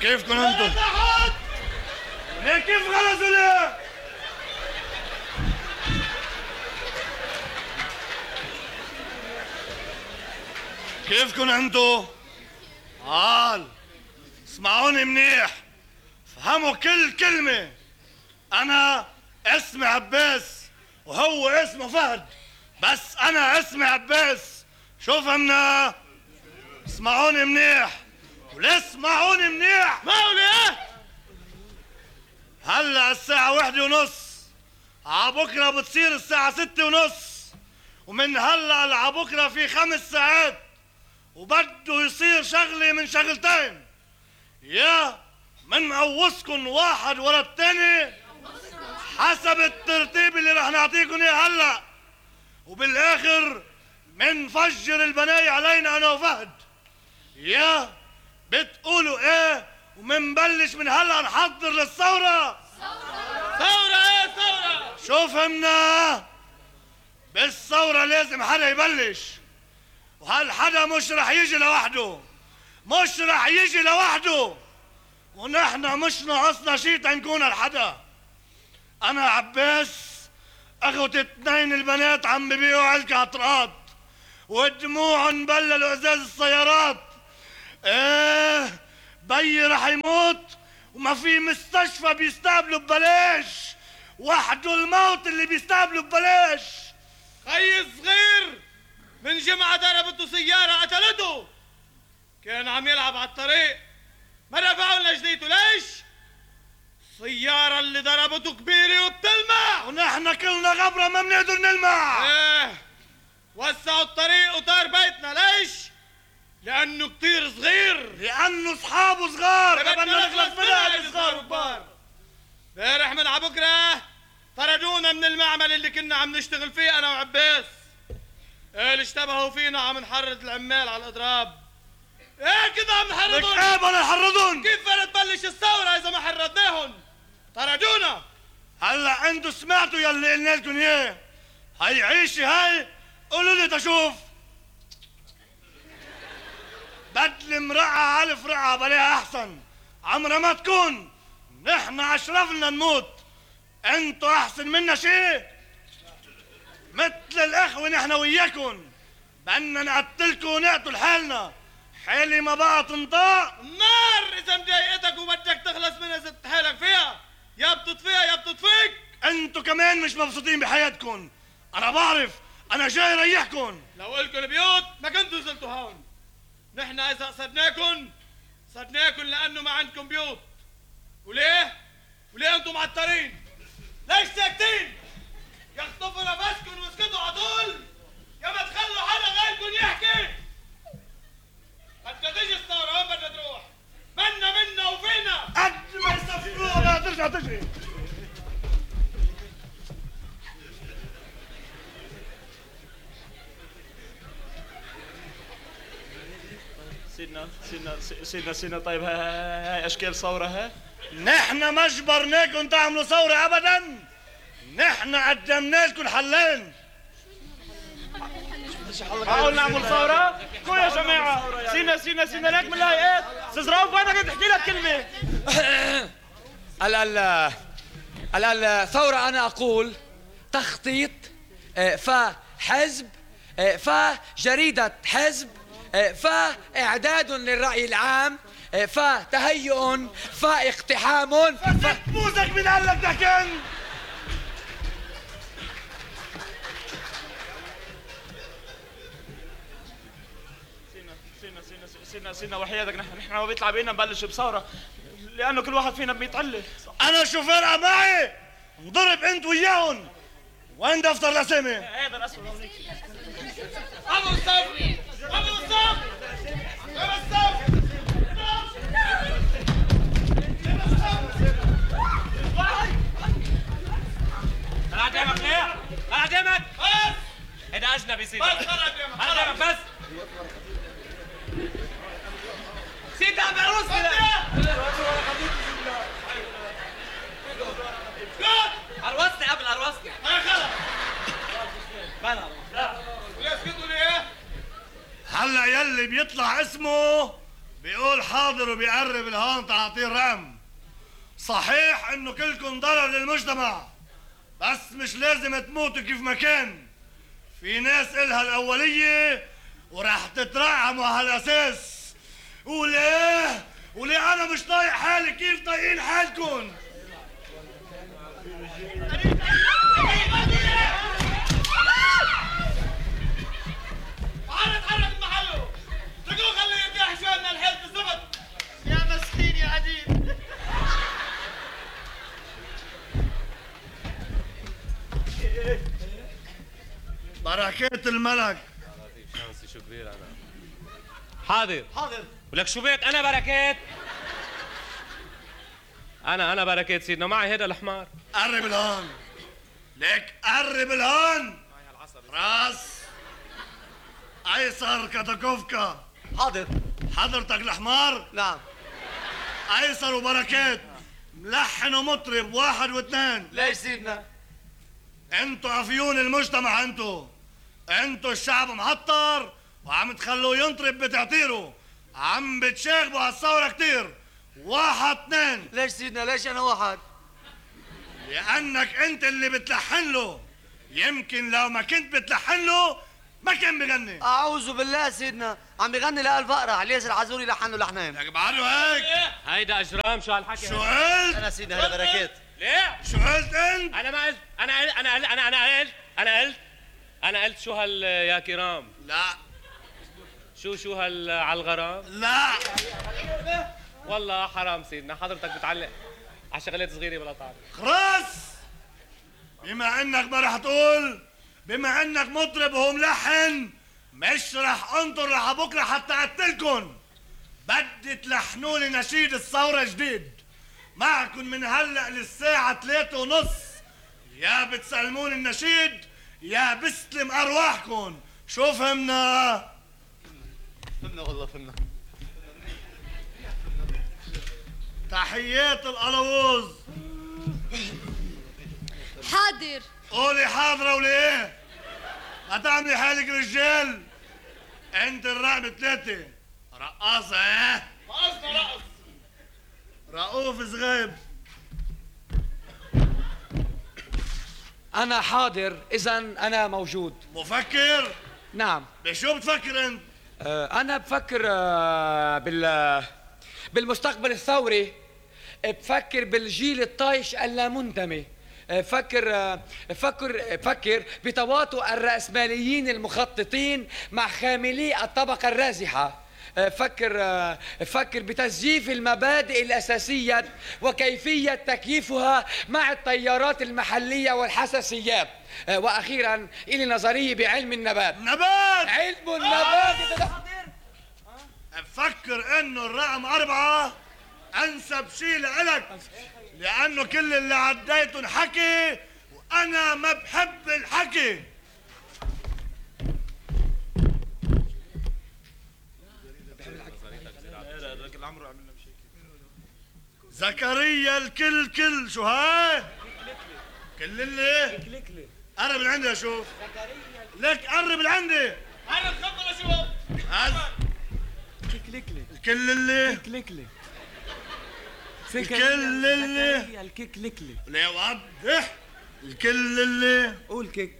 كيفكن انتو؟ ليه كيف غلزوا ليه؟ كيفكن انتو؟ اسمعوني منيح، فهموا كل كلمة. أنا اسمي عباس وهو اسمه فهد، بس أنا اسمي عباس. شو فهمنا؟ اسمعوني منيح وليه اسمعوني منيح؟ مولي هلا الساعة 1:30، عبكرة بتصير الساعة 6:30، ومن هلا لعبكرة في 5 ساعات، وبده يصير شغلة من شغلتين: يا من نقوصكن واحد ورا التاني حسب الترتيب اللي رح نعطيكن اياه هلا، وبالاخر منفجر البناية علينا انا وفهد. يا بتقولوا ايه ومنبلش من هلا نحضر للثورة. ثورة ايه ثورة؟ شو فهمنا؟ بالثورة لازم حدا يبلش، وهالحدا مش رح يجي لوحده، مش رح يجي لوحده، ونحن مش ناقصنا شي تنكون الحدا. انا عباس، اخوتي 2 البنات عم ببيعوا علك عطرات ودموعن بللوا ازاز السيارات. ايه بيي رح يموت وما في مستشفى بيستقبلوا ببلاش، وحده الموت اللي بيستقبلوا ببلاش. خي صغير من جمعة ضربته سيارة قتلته، كان عم يلعب على الطريق، ما دفعوا لنا جديته. ليش؟ السيارة اللي ضربته كبيرة وبتلمع، ونحن كلنا غبرة ما بنقدر نلمع. ايه وسعوا الطريق وطار بيتنا. ليش؟ لأنه كتير صغير، لأنه أصحابه صغار، بدنا نخلص منها صغار وكبار. امبارح من عبكرة طردونا من المعمل اللي كنا عم نشتغل فيه أنا وعباس. اللي اشتبهوا فينا عم نحرض العمال على الإضراب. ايه كده عم نحرضهم. ايه بدنا نحرضهم؟ كيف بدنا تبلش الثورة إذا ما حرضناهم؟ طردونا. هلا انتوا سمعتوا يلي قلنا لكم اياه. هي عيشة هاي، قولوا لي تشوف. بدل مرقعة 1000 رقعة بلاها أحسن، عمرها ما تكون. نحن أشرف لنا نموت، انتوا أحسن منا شي؟ مثل الأخوة نحن وياكن، بدنا نقتلكم ونقتل حالنا. حالي ما بقى تنطاق النار إذا مضايقتك وبدك تخلص منها زت حالك فيها، يا بتطفيها يا بتطفيك. انتوا كمان مش مبسوطين بحياتكن، أنا بعرف، أنا جاي ريحكن. لو إلكن بيوت ما كنتوا نزلتوا هون. نحن إذا قصدناكن صدناكن لأنه ما عندكم بيوت. وليه؟ وليه أنتم معطرين؟ ليش ساكتين؟ يخطفوا نفسكن واسكتوا على طول، يا ما تخلوا حدا غيركن يحكي. بدها تيجي الثورة، وين بدها تروح؟ منا وفينا. قد ما يصفروها ترجع تجري. سيدنا طيب هاي اشكال ثورة ها؟ نحن ما جبرناكم تعملوا ثورة ابدا، نحن قدمنا لكم حلين. معقول نعمل ثورة؟ كو يا جماعة؟ سينا لك من الهيئات. استاذ رؤوف وينك تحكي لك كلمة؟ الثورة أنا أقول تخطيط، فحزب، فجريدة حزب، فإعداد للرأي العام، فتهيئ، فاقتحام، موزك من قلب دكن. سينا وحياتك، نحن ما بيطلع بينا نبلش بثورة لأنه كل واحد فينا بيتعلل. أنا شو فارقة معي؟ انضرب أنت وياهم. وين دفتر الأسامي؟ هذا الأسود هونيك. أبو الصف، أبو الصف، أبو الصف. طلع قدامك ليه؟ طلع قدامك. بس هذا أجنبي سيدي. بس طلع قدامك بس. سيدي عم بعروسني. عروسني قبل عروسني. خلص. هلا يلي بيطلع اسمه بيقول حاضر وبيقرب لهون تعطيه الرقم. صحيح انه كلكم ضرر للمجتمع، بس مش لازم تموتوا كيف ما كان. في ناس إلها الأولية وراح تترعموا على هالأساس. وليه أنا مش طايق حالي كيف طايقين حالكم؟ اتحرك من محله. تقول خليه يرتاح شوي من الحيط بالزبط. يا مسكين يا عديل. بركات الملك. شانسي شو كبير انا. حاضر حاضر. ولك شو بيت انا بركات. انا بركات سيدنا معي هيدا الحمار. قرب لهون. ليك قرب لهون. راس ايسر كاتاكوفكا. حاضر. حضرتك الحمار؟ نعم. ايسر وبركات ملحن ومطرب واحد واثنين. ليش سيدنا؟ انتو عفيون المجتمع. انتو الشعب معطر وعم تخلوه ينطرب بتعطيره. عم بتشاغبوا هالثورة كتير. واحد اثنين. ليش سيدنا؟ ليش انا واحد؟ لأنك أنت اللي بتلحن له. يمكن لو ما كنت بتلحن له ما كان بغني. اعوذ بالله سيدنا، عم بغني لقلب اقرع. ليش العزوري لحن له لحنين؟ لك بعرفه هيك. هيدا اجرام. شو هالحكي؟ شو قلت؟ انا سيدنا هذا بركات. ليه؟ شو قلت أنت؟ انا ما قلت. انا قلت شو هال يا كرام. لا شو هال على الغرام. لا والله حرام سيدنا، حضرتك بتعلق على شغلات صغيره بلا تعرف. خلاص. بما انك ما رح تقول، بما انك مطرب وهو ملحن، مش رح انطر لبكره حتى اقتلكن. بدي تلحنوا لي نشيد الثوره جديد. معكن من هلا للساعه 3:30. يا بتسلمون النشيد يا بستلم ارواحكن. شو فهمنا؟ فهمنا والله فهمنا. تحيات القلاووز. حاضر. قولي حاضرة وليه؟ ما تعملي حالك رجال. انت الرقم 3. رقاصة ها؟ رقصنا رقص. رؤوف صغيب. أنا حاضر، إذا أنا موجود. مفكر؟ نعم. بشو بتفكر انت؟ أنا بفكر بالمستقبل الثوري. بفكر بالجيل الطايش اللامنتمي. فكر بتواطؤ الرأسماليين المخططين مع خاملي الطبقة الرازحة. فكر بتزييف المبادئ الأساسية وكيفية تكييفها مع التيارات المحلية والحساسيات. وأخيرا إلي نظرية بعلم النبات. نبات. علم النبات. بفكر انه الرقم 4 انسب شيء لإلك، لانه كل اللي عديتن حكي وانا ما بحب الحكي. زكريا الكل شو هاي؟ كل اللي قرب لعندي اشوف. لك قرب لعندي. انا تخبل اشوف. الكل اللي الكلكلي. الكل اللي الكلكلي. ليه وضح. الكل اللي قول كيك.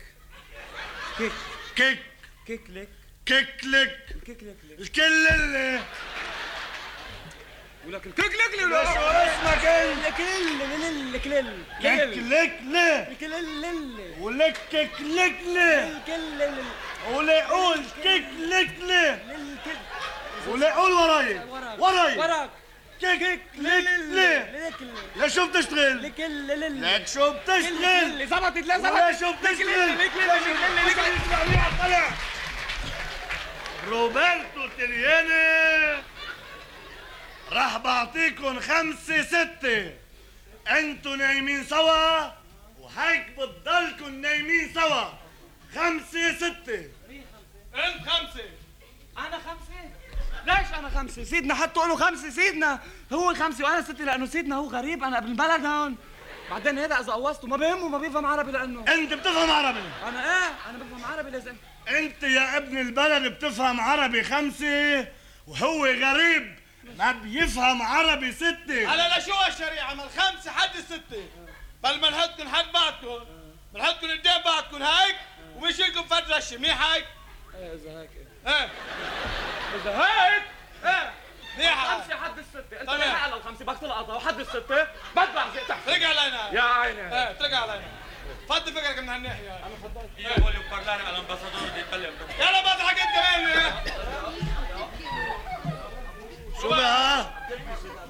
كيك. كيك كيكلك. كيكلك. كيكلك. الكل اللي ولك الكلكلي. شو اسمك انت؟ الكلكلي. كيكلك ليه الكلكلي. ولك كيكلك ليه ولا قول كيكلك ليه ولا قول وراي وراك. كيكلك ليه. لا شو بتشتغل؟ لك شو بتشتغل؟ زبطت. لا ولا شو بتشتغل؟ طلع روبرتو ترياني. راح بعطيكن 5 6. انتوا نايمين سوا وهيك بتضلكن نايمين سوا. 5 6. انت 5. انا 5. ليش انا 5 سيدنا؟ حطوا له 5 سيدنا. هو 5 وانا 6 لانه سيدنا هو غريب. انا ابن البلد هون. بعدين هذا اذا قوصته ما بهمه ما بيفهم عربي لانه انت بتفهم عربي. انا بفهم عربي. لازم انت يا ابن البلد بتفهم عربي 5 وهو غريب ما بيفهم عربي ستة. على لشو الشريعة من 5 حد 6 بل منحطكن حد بعضكم منحطكن قدام بعضكم هيك وبيشيلكم فد رشة منيح هيك؟ ايه اذا هيك ايه اذا هيك ايه منيح هيك. 5 حد الستة، انت تمام. ليه على ال5 بدك تلقطها وحد الستة بدفع زي تحت. ترجع علينا يا عيني. ايه ترجع علينا. فضي فكرك من هالناحية. انا فضلت. يلا بضحك انت كمان. شو بقى؟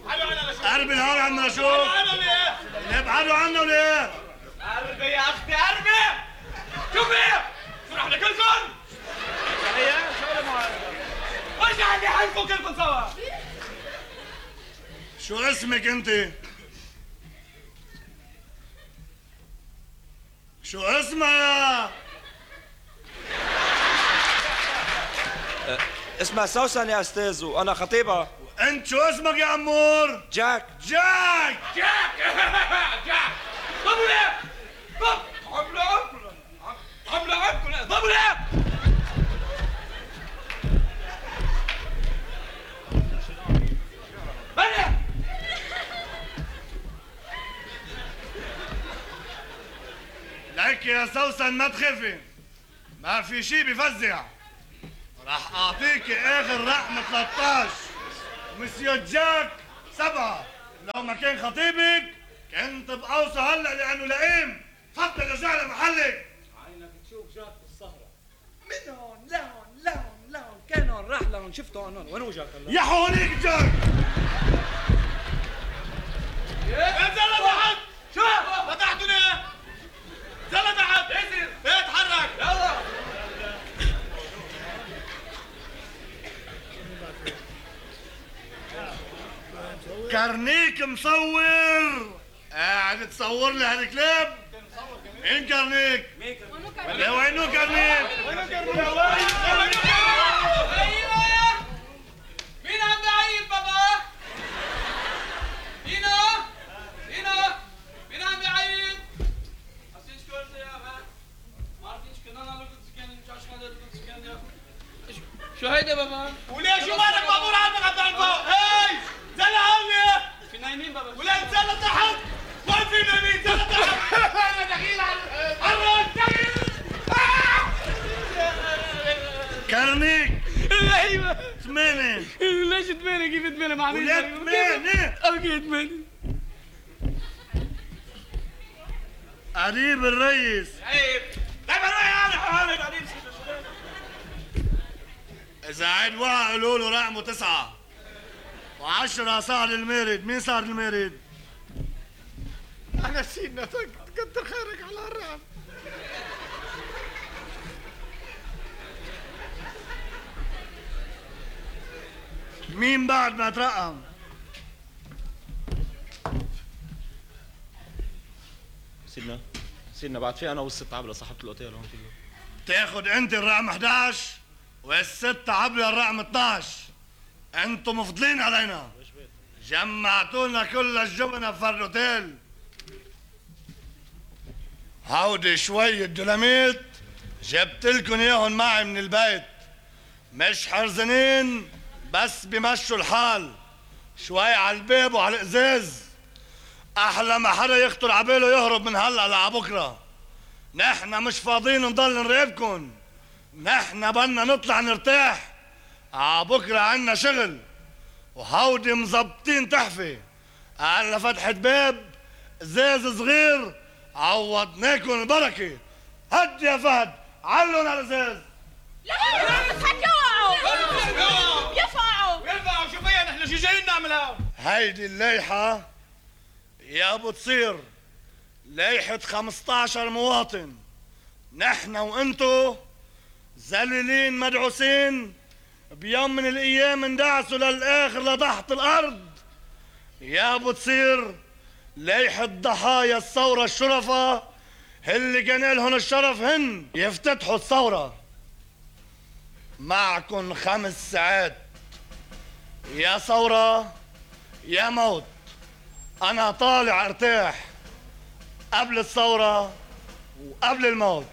حلو على لشو. قرب الهون عمنا شو؟ انا ليه؟ ابعدوا عنه ليه؟ قربي يا اختي قربي. شوفي شو رح ناكلكم؟ هي شو معي وش عندي حالكم كلكم سوا. شو اسمك انت؟ شو اسمها؟ اسمها سوسن يا استاذ وانا خطيبها. انت شو اسمك يا عمور؟ جاك. جاك. جاك ضبوا ليه؟ ضب عم لعبكم ضبوا ليه؟ بني لك يا سوسن ما تخافي، ما في شي بفزع. راح اعطيك اخر رقم 13 ومسيو جاك 7. لو ما كان خطيبك كنت بقوصه هلا لانه لئيم. تفضل ارجع لمحلك. عينك تشوف جاك بالسهرة من هون لهون لهون لهون كان هون راح لهون شفته هون وين هو جاك هلا؟ يا حوليك جاك. انزل لتحت. شو؟ فتحتوا ليه؟ انزل لتحت. انزل. ايه اتحرك. يلا كارنيك مصور قاعد تصور لي هالكلاب. مين كارنيك؟ لا وينو كارنيك؟ ايوه مين عم بيعيد بابا؟ مين عم بيعيد؟ شو هيدا بابا؟ وليه شو مالك مقبول عنك حتى عن فوق؟ هي زل هون في نايمين بابا ولا انزل لتحت وين في نايمين زل لتحت انا دخيل على دخيل كارنيك ايوه 8. ليش 8 كيف 8 مع مين؟ ولاد 8 اوكي 8 قريب الريس. عيب دايما رايح انا حالي بعدين إذا عيد واحد قولوا له رقمه 9 و10 صار المارد. مين صار المارد؟ انا سيدنا كتر خيرك على الرقم مين بعد ما ترقم؟ سيدنا بعد في انا والست عبله صاحبة الاوتيل هون فيه. تاخد انت الرقم 11 والست عبلة الرقم 12. انتم مفضلين علينا. جمعتونا كل الجبنة في الاوتيل. هودي شوية دولاميت جبت لكم اياهم معي من البيت. مش حرزنين بس بمشوا الحال. شوي على الباب وعلى الازاز. احلى ما حدا يخطر عباله يهرب من هلا لعبكره. نحن مش فاضيين نضل نراقبكن. نحن بدنا نطلع نرتاح. عبكره عنا شغل. وهودي مزبطين تحفه. على فتحة باب ازاز صغير عوضناكم البركه. هد يا فهد علن على الازاز. لا بدك يوقعوا ينفعوا شو فيها نحن شو جايين نعمل هون؟ هيدي الليحة يا بتصير ليحة 15 مواطن. نحن وانتو ذليلين مدعوسين بيوم من الايام اندعسوا للاخر لتحت الارض. يا بتصير ليحة ضحايا الثورة الشرفاء اللي كان لهم الشرف هن يفتتحوا الثورة. معكن 5 ساعات. يا ثورة يا موت. أنا طالع ارتاح قبل الثورة وقبل الموت.